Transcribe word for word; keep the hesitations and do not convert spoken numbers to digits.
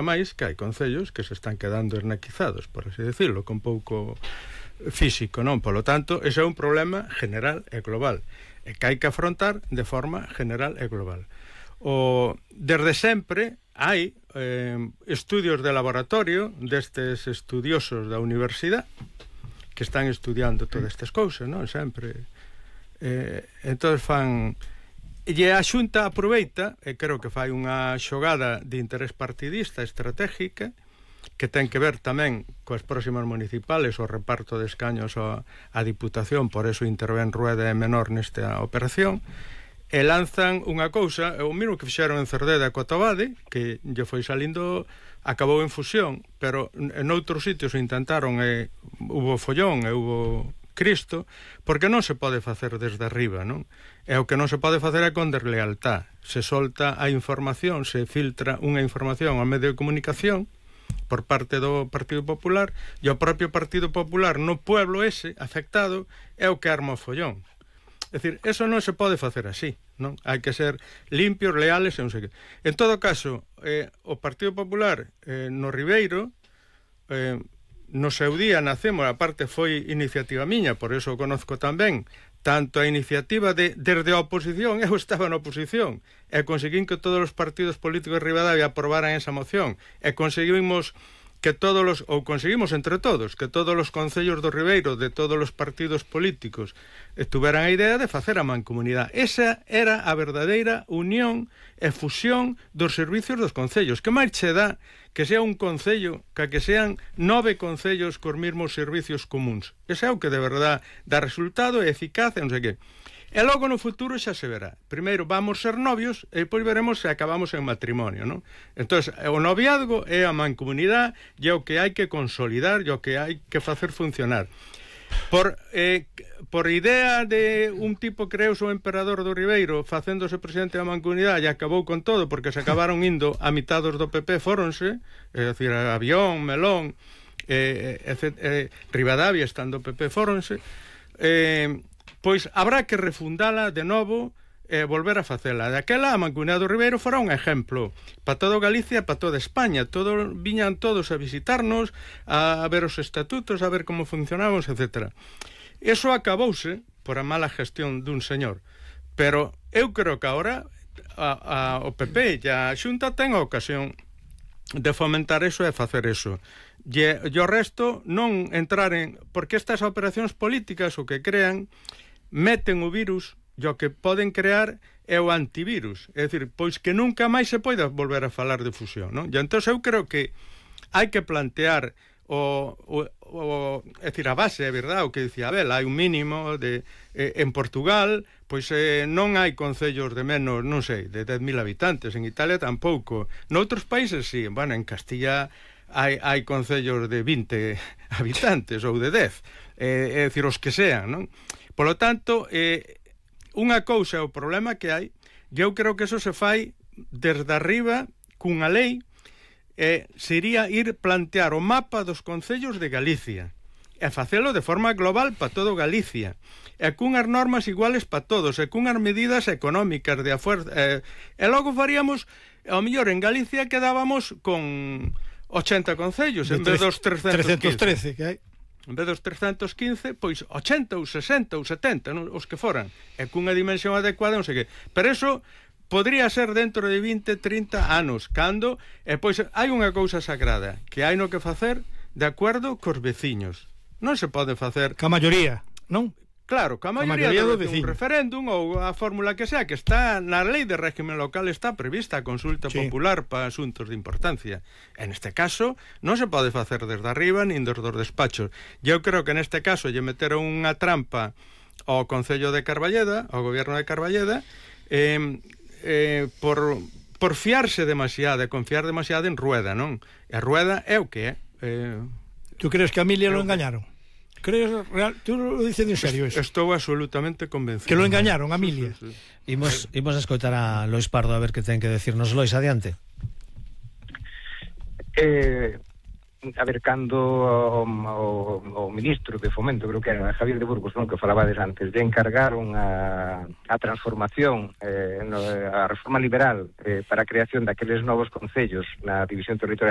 máis que hai concellos que se están quedando ernaquizados, por así decirlo, con pouco físico, non? Polo tanto, ese é un problema general e global, e que hai que afrontar de forma general e global. O, desde sempre hai eh, estudios de laboratorio destes estudiosos da universidade que están estudiando todas estas cousas, non? Sempre. Eh, entón fan... E a Xunta aproveita, e creo que fai unha xogada de interés partidista estratégica que ten que ver tamén coas próximas municipales, o reparto de escaños á, á Diputación, por eso intervén Rueda e Menor nesta operación, e lanzan unha cousa, o mesmo que fixeron en Cerdeda co Tobade, que lle foi salindo, acabou en fusión, pero en outros sitios intentaron e hubo follón e hubo Cristo, porque non se pode facer desde arriba, non? E o que non se pode facer é con deslealtad. Se solta a información, se filtra unha información ao medio de comunicación por parte do Partido Popular, e o propio Partido Popular no pueblo ese afectado é o que arma o follón. É dicir, eso non se pode facer así, non? Hai que ser limpios, leales e non sei que. En todo caso, eh, o Partido Popular eh, no Ribeiro eh, no seu día nacemos, a parte foi iniciativa miña, por eso o conozco tamén, tanto a iniciativa de desde a oposición, eu estaba na oposición, e conseguín que todos os partidos políticos de Ribadavia aprobaran esa moción, e conseguimos que todos os, ou conseguimos entre todos, que todos os concellos do Ribeiro, de todos os partidos políticos, tuveran a idea de facer a mancomunidade. Esa era a verdadeira unión e fusión dos servicios dos concellos. Que máis che dá que sea un concello, que que sean nove concellos cos mesmos servicios comuns? Ese é o que de verdade dá resultado e eficaz e non sei que. E logo no futuro xa se verá. Primeiro vamos ser novios e depois veremos se acabamos en matrimonio, non? Entón, o noviazgo é a mancomunidade e é o que hai que consolidar e o que hai que facer funcionar. Por, eh, por idea de un tipo creoso o emperador do Ribeiro facéndose presidente da mancomunidade e acabou con todo porque se acabaron indo a mitados do P P, fóronse, é dicir, Avión, Melón, eh, eh, eh, Ribadavia estando o P P, fóronse, eh, pois habrá que refundala de novo e eh, volver a facela. Daquela a Mancomunidade do Ribeiro fora un exemplo para toda Galicia, para toda España. Todo, viñan todos a visitarnos, a, a ver os estatutos, a ver como funcionamos, etcétera. Eso acabouse por a mala gestión dun señor. Pero eu creo que agora a, a, o P P e a Xunta ten a ocasión de fomentar eso e facer eso. E, e o resto non entrar en... Porque estas operacións políticas o que crean meten o virus e o que poden crear é o antivirus. É dicir, pois que nunca máis se poida volver a falar de fusión, non? E entón eu creo que hai que plantear o, o, o é dicir, a base, é verdade, o que dicía Abel, hai un mínimo de eh, en Portugal, pois eh, non hai concellos de menos, non sei, de dez mil habitantes, en Italia tampouco. Noutros países sí, bueno, en Castilla hai, hai concellos de vinte habitantes ou de dez, eh, é dicir, os que sean, non? Polo tanto, eh, unha cousa é o problema que hai, e eu creo que eso se fai desde arriba cunha lei, eh, sería ir plantear o mapa dos concellos de Galicia e facelo de forma global para todo Galicia e cunhas normas iguales para todos e cunhas medidas económicas de afuerza, eh, e logo faríamos, ao mellor en Galicia quedábamos con ochenta concellos en vez dos trescentos trece que hai. En vez dos trescentos quince, pois ochenta ou sesenta ou setenta, non? Os que foran, e cunha dimensión adecuada, non sei que. Pero eso podría ser dentro de vinte, trinta anos, cando, e pois hai unha cousa sagrada, que hai no que facer de acordo cos veciños. Non se pode facer... Ca maioría, non? Claro, ca maioría, maioría do, do un referéndum ou a fórmula que sea, que está na lei de régimen local, está prevista a consulta sí. popular para asuntos de importancia. En este caso, non se pode facer desde arriba nin desde os despachos. Eu creo que neste caso lle meteron unha trampa ao Concello de Carballeda, ao Goberno de Carballeda, eh, eh, por, por fiarse demasiado, e confiar demasiado en Rueda, non? E a Rueda é o que é. Eh, ¿Tú crees que a Emilia lo engañaron? ¿Crees real? ¿Tú lo dices en serio eso? Estou absolutamente convencido. Que lo engañaron a Emilia. Sí, sí, sí. Imos, imos a escoitar a Lois Pardo a ver que ten que decirnos. Lois, adiante. Eh, a ver, cando o, o, o ministro de Fomento, creo que era Javier de Burgos, non, que falabades antes, de encargaron a, a transformación, eh, no, a reforma liberal eh, para a creación daqueles novos concellos na división territorial